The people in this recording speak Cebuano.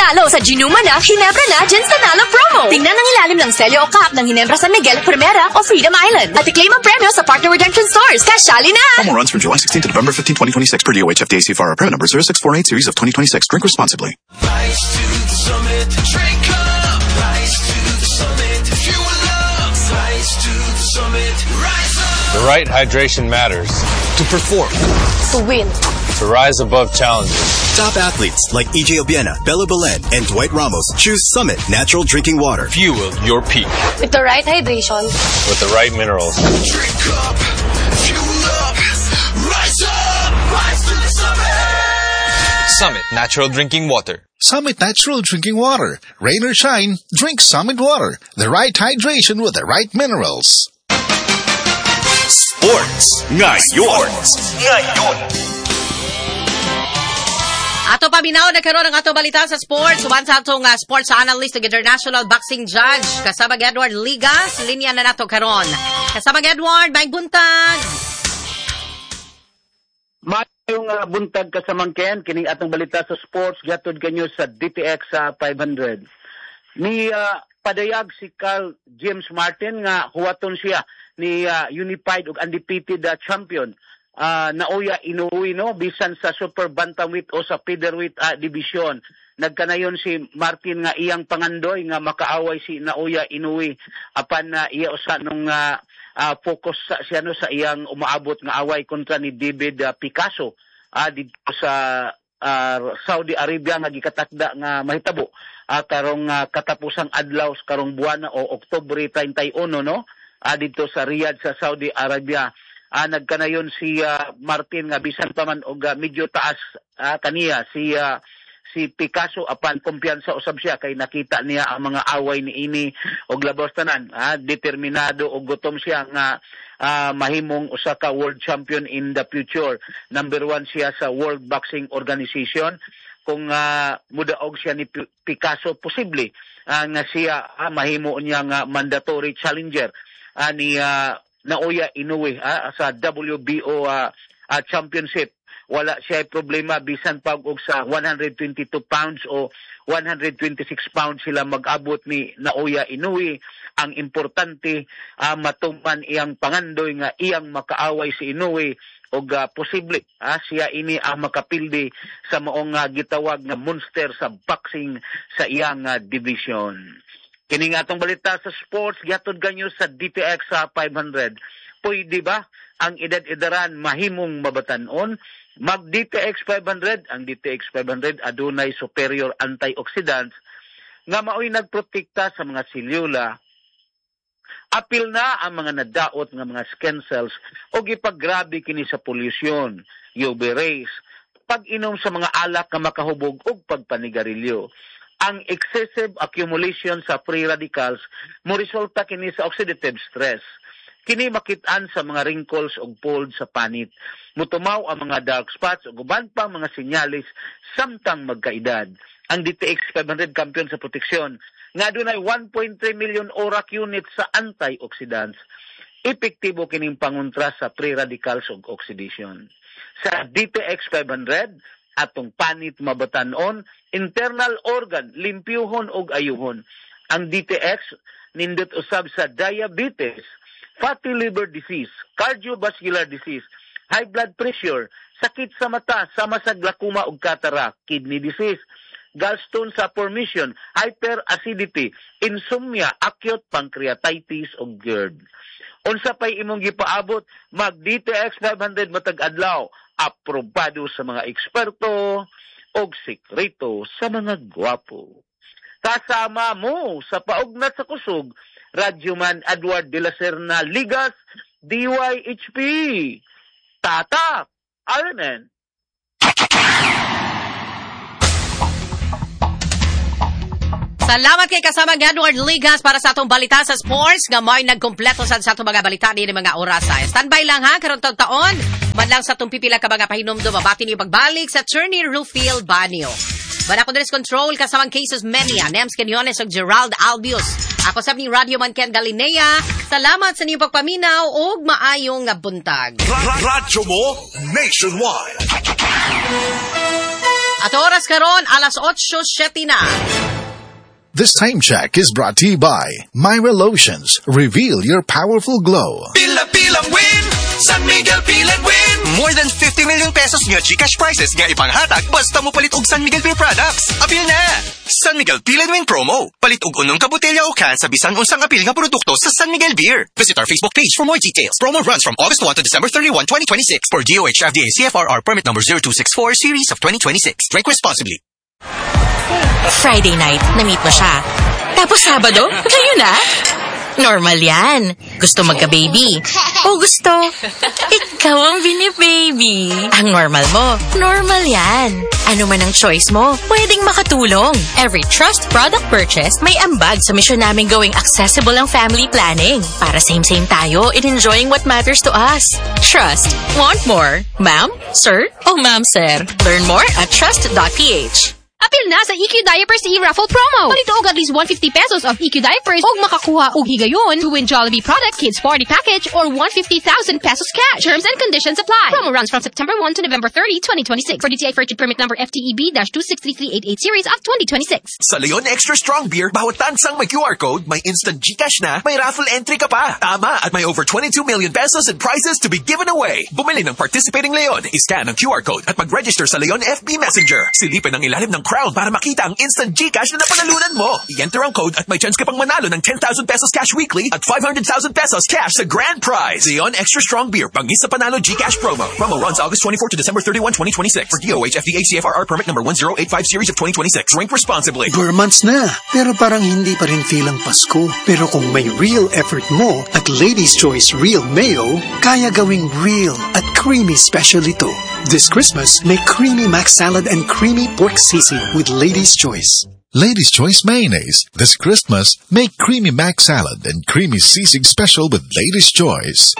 Manalo sa Ginuma na, Ginebra na, Gins Nanalo promo. Tingnan ang ilalim ng selyo o cup ng Ginebra San Miguel, Primera o Freedom Island. At i-claim ang premyo sa partner redemption stores. Kasyali na! Promo runs from July 16 to November 15, 2026 per DOH FDA CFR permit number 0648 series of 2026. Drink responsibly. Rise to the summit, drink up. Rise to the summit, fuel up. Rise to the summit, rise up. The right hydration matters. To perform. To win. To rise above challenges. Top athletes like EJ Obiena, Bella Belen, and Dwight Ramos choose Summit Natural Drinking Water. Fuel your peak. With the right hydration. With the right minerals. Drink up, fuel up, rise up, rise to the summit. Summit Natural Drinking Water. Summit Natural Drinking Water. Rain or shine, drink Summit Water. The right hydration with the right minerals. Sports Ngayon. Ngayon. Ato paminaw na karon ang ato balita sa sports. Uban sa atong sports analyst ug international boxing judge kasabag Edward Ligas, linya na nato karon. Kasabag Edward, maayong buntag. Maayong buntag, kasamang Ken, kining atong balita sa sports gihatod kanyo sa DTX sa 500. Ni padayag si Carl James Martin nga huwaton siya ni unified ug undefeated champion Naoya Inoue, no, bisan sa super bantamweight o sa featherweight division. Nagkanayon si Martin nga iyang pangandoy nga makaaway si Naoya Inoue, apan na iya usa nung focus sa siya, no, sa iyang umaabot nga away kontra ni David Picasso didto sa Saudi Arabia nga gikatakda nga mahitabo karong katapusang adlaw karong buwana o Oktubre 31, no, didto sa Riyadh sa Saudi Arabia. Nagkanayon si Martin nga bisan pa man og medyo taas kaniya si Picasso, apan kumpiyansa usab siya kay nakita niya ang mga away ni ini og labos tanan, determinado og gutom siya nga mahimong usa ka world champion in the future. Number one siya sa World Boxing Organization. Kung mudaog siya ni Picasso, posible nga siya mahimo niya nga mandatory challenger ni Naoya Inoue sa WBO championship. Wala siya problema bisan pag og sa 122 pounds o 126 pounds sila mag-abot ni Naoya Inoue. Ang importante, matuman iyang pangandoy nga iyang makaaway si Inoue og posible siya ini ang makapildi sa maong gitawag nga monster sa boxing sa iyang division. Kini nga atong balita sa sports gihatod kanyo sa DTX sa 500. Pwede ba ang edad-edaran mahimong mabatan-on? Mag DTX 500, ang DTX 500 adunay superior antioxidants nga maoy nagprotekta sa mga selula. Apil na ang mga nadaot nga mga skin cells o gipaggrabe kini sa pollution, UV rays, pag-inom sa mga alak nga makahubog ug pagpanigarilyo. Ang excessive accumulation sa free radicals mo resulta kini sa oxidative stress. Kini makit-an sa mga wrinkles ug folds sa panit. Mutumaw ang mga dark spots ug uban pang mga sinyalis samtang magkaedad. Ang DTX 500 kampiyon sa proteksyon nga adunay 1.3 million ORAC units sa antioxidants. Epektibo kining pangontra sa free radicals ug oxidation. Sa DTX 500, atong panit mabatan-on, internal organ limpyuhon ug ayuhon. Ang DTX nindot usab sa diabetes, fatty liver disease, cardiovascular disease, high blood pressure, sakit sa mata sama sa glaucoma ug cataract, kidney disease, gallstone sa formation, hyperacidity, insomnia, acute pancreatitis ug GERD. Unsa pay imong gipaabot, mag DTX 500 matag adlaw, aprobado sa mga eksperto og sekreto sa mga gwapo. Kasama mo sa paugnat sa kusog, Radyoman Edward de la Serna Ligas, DYHP. Tatak, Ironman. Salamat kay kasama Edward Ligas para sa atong balita sa sports nga may nagkompleto sa atong mga balita ni mga orasa. Standby lang ha karon taon man lang sa atong pipila ka mga pahinumdum, mabati niyo pagbalik sa Attorney Rufil Banio. Bana ko control kasamang Cases Menia, Nems Quinones ug Gerald Albius. Ako sab ni Radio Man Ken Galinea. Salamat sa inyong pagpaminaw ug maayong buntag. Radyo mo nationwide. At oras karon alas 8:07 na. This time check is brought to you by Myra Lotions. Reveal your powerful glow. Pila-pilang win! San Miguel Peel and Win! More than 50 million pesos nga GCash prizes nga ipanghatag basta mo palit og San Miguel Beer products. Apil na! San Miguel Peel and Win promo. Palit og unom ka botelya o can sa bisan unsang apil nga produkto sa San Miguel Beer. Visit our Facebook page for more details. Promo runs from August 1 to December 31, 2026 for DOH FDA CFRR permit number 0264 series of 2026. Drink responsibly. Friday night, na-meet mo siya. Tapos Sabado, kayo na? Normal yan. Gusto magka-baby. O gusto, ikaw ang binibaby. Ang normal mo, normal yan. Ano man ang choice mo, pwedeng makatulong. Every Trust product purchase, may ambag sa mission namin gawing accessible ang family planning. Para same-same tayo in enjoying what matters to us. Trust. Want more? Ma'am? Sir? O ma'am, sir? Learn more at trust.ph. Apil na sa EQ Diapers e-raffle promo. Palit og at least 150 pesos of EQ Diapers og makakuha og higayon to win Jollibee Products Kids Party Package or 150,000 pesos cash. Terms and conditions apply. Promo runs from September 1 to November 30, 2026. For DTI Fair Trade Permit number FTEB-263388 series of 2026. Sa Leon Extra Strong Beer, bawat tansang may QR code, may instant GCash na, may raffle entry ka pa. Tama, at may over 22 million pesos in prizes to be given away. Bumili ng participating Leon, iscan ang QR code at mag-register sa Leon FB Messenger. Silipin ang ilalim ng crown para makita ang instant GCash na napanalunan mo. I-enter ang code at may chance ka pang manalo ng 10,000 pesos cash weekly at 500,000 pesos cash sa grand prize. Leon Extra Strong Beer, bangis sa panalo GCash promo. Promo runs August 24 to December 31, 2026. For DOH FDA CFRR permit number 1085 series of 2026. Drink responsibly. Ber months na, pero parang hindi pa rin feel ang Pasko. Pero kung may real effort mo at Lady's Choice Real Mayo, kaya gawing real at creamy special ito. This Christmas, make creamy mac salad and creamy pork sisig with Lady's Choice. Lady's Choice Mayonnaise. This Christmas, make creamy mac salad and creamy sisig special with Lady's Choice.